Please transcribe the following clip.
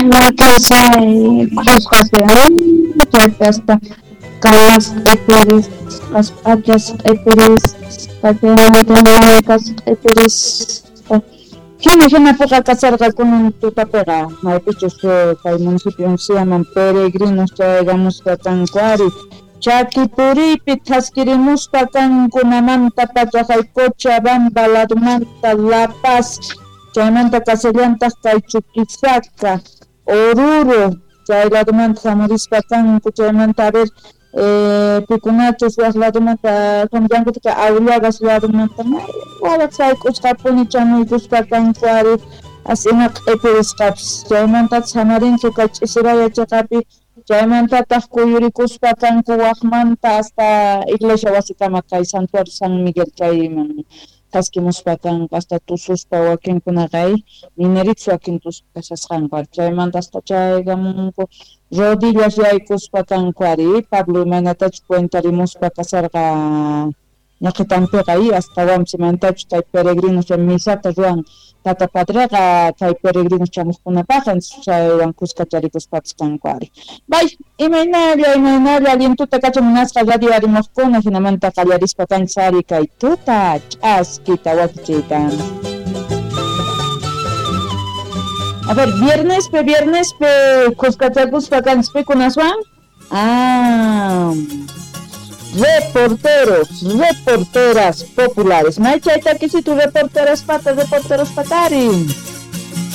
Wakin cruzqas chaypi hasta kamas q'ipirisqas, p'achas q'ipirisqa, chaymanta mankas q'ipirisqa. Hina hinapiqa kasarqa kunan tutapiqa maypichus kay municipio Unciaman peregrinos chayagamusqa kanku ari chaki puriypi thaskirimuspa kankunamanta pacha hay Cochabamba ladumanta La Paz chaymanta kasallantaq kay Chuquisaca, Oruro chay ladumanta hamurispa kanku chaymanta a ver pikunachus waq ladumanta hamullankuta Aullagas ladumanta wawaq sayk'usqapuni chamuykuspa kanku ari asina q'ipirisqapis chaymantataq samarinchu kay ch'isiraya chiqapi chaymantataq kuyurikuspa kanku waqmanta hasta iglesia wasikama kay Santuario San Miguel chayman thaskimuspa kanku hasta tususpa wakinkunaqa mineritos wakin tususpa chaymanta hasta chaygamunku rodillas yaykuspa kanku ari Pablo imaynatachus cuentarimuspa kasarqa ñaqitanpiqa astawanpis imaynatachus kay peregrinos misata ruwan tata padreqa kay peregrinos chamuqkunapaq chaywan kuskacharikuspapas kanku ari. Bay, imaynalla imaynalla alientuta kachan munasqa radio arimuqkuna hinamanta qallarispa kanchis ari kay tuta ch'askita wakichiyta. A ver, viernespi viernespi kuskachakuspa kanchis pikunaswan? Ah, reporteros, reporteras populares. Maychay takisitu reporteras pata, reporteros patari.